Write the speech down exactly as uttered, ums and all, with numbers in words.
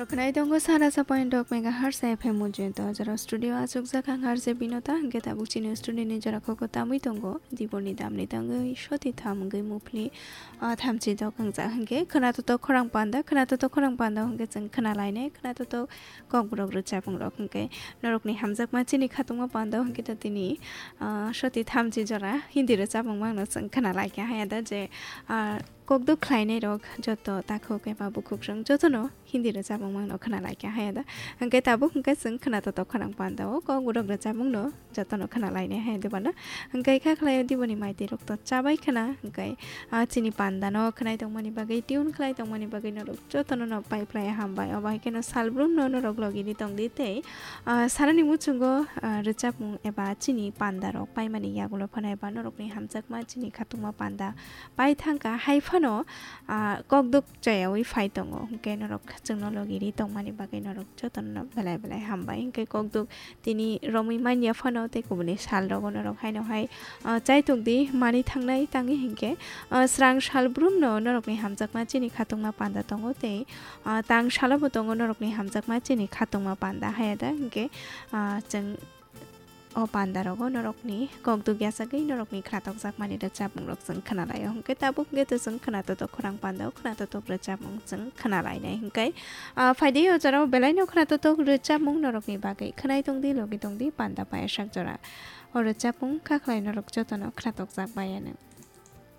Khwnai tongo sana sa point dok megahertz F M Mujento, jora studio achukjak ang R J Binota, hwnkhe tabuk chini studio ni jora koko tamwi tongo, Diboni damni tangwi soti tham wngwi muphli, ah, thamchi dok wngjak hwnkhe, khwnato to khorang panda, khwnato to khorang panda hwnkhe chwng khwnalainai, khwnato to kokborok rwchapmung rok hwnkhe, norokni hamjakma chini khatungma panda hwnkhe to tini, ah, soti thamchi jora Hindi rwchapmung mangno chwng khwnalaikha haya da je, ah, kokduk khlainai rok joto takhuk eba bukhukrang jotono Hindi rwchapmung mangno khwnalaikha haya da. Hwnkhe tabuk hwnkhe chwng khwnato to khorang panda o kokborok rwchapmungno jotono khwnalainai haya da bana. Hwnkhe kha khlaio Diboni maiti rok to chabai khwna hwnkhe, ah, chini panda no khwnai tongmani bagwi tune khlai tongmani bagwi norok jotono no pai phlai hambai. Obo hai kheno salbrum no norok logi ni tongdi tei, ah, sanani muchungo, ah, rwchapmung eba chini panda rok paimani yagulo phano eba norokni hamjakma chini khatungma panda pai thangkha hai phano, ah, kokduk chayawi phai tongo. Hwnkhe norok chwngno logi ri tongmani bagwi norok jotono no belai belai hambai. Hwnkhe kokduk tini romwi manya phano tei kubuni sal rogo norok haino hai, ah, chaitok di mani thangnai tangwi hwnkhe, ah, srang salbrum no norokni hamjakma chini khatungma panda tongo tei, ah, tang salo bo tongo norokni hamjakma chini khatungma panda haya da hwnkhe, ah, chwng o panda rogo norokni kokduk yachagwi norokni khwnatok jakmani rwchapmung rok chwng khwnalaio hwnkhe tabuk hwnkhe to chwng khwnato to khorang panda o khwnato to rwchapmung chwng khwnalainai hwnkhe, ah, phaidi o jora o belai no khwnato to rwchapmung norokni bagwi khwnai tongdi logi tongdi panda payasak jora. O rwchapmung kha khlai norok jotono khwnatok jak bai ano.